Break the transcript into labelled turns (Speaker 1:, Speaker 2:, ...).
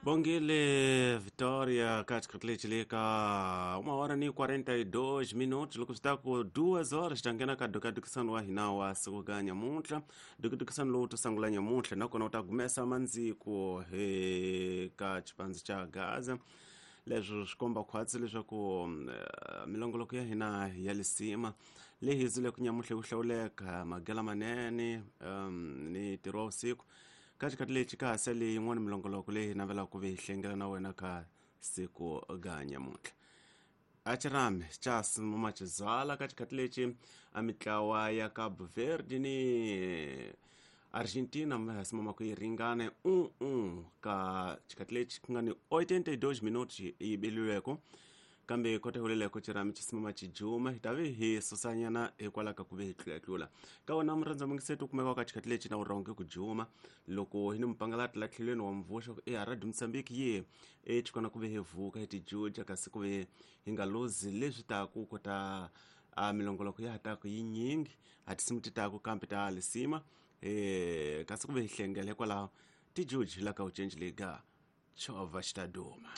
Speaker 1: Bongile Vitória ka 1:42 minutos loko swi ta ku 2 horas ta nghena ka dukadukisano wa hina wa siku ka nyamuntlha. Dukadukisano lowu to sungula nyamuntlha nakona u ta gumesa mandziko ka xipandzi xa Gaza. Leswi swi komba khwatsi leswaku milongoloko ya hina ya lisima leyi hi ku nyamuntlha ku hlawuleka magela manene ni ntirho wa vusiku. Ka xikhathi lexi ka ha sele yin'wana milongoloko leyi hi navelaka ku ve hi hlengela na wena ka siku ga nyamuntlha. A xirhami xa simama xizala ka xikhathi lexi a mitlawa ya Cabo Verde ni Argentina mi simama ku yi ringane 1-1 ka xikhathi lexi ku nga ni 82 minutos yi beliweko, kambe kota huleleko xirhami xi simama xi juma hi ta ve hi susanyana hikwalaho ka ku ve hi tlulatlula ka wona. Murhandza mungiseto u kumeka ka xikhathi lexi na u rhonge ku juma loko hi ni mupangalati la tlhelweni wa mvuxa ku e Radio Mozambique ye e xikona ku ve hi vuka hi tijuja kasi ku ve hi nga luzi leswi taku kota a milongoloko ya ha taku yinyingi a tinsimu ti taku kambe ta lisima kasi ku ve hi hlengela hikwalaho tijuji la ka u cenji lega chovha xi ta duma.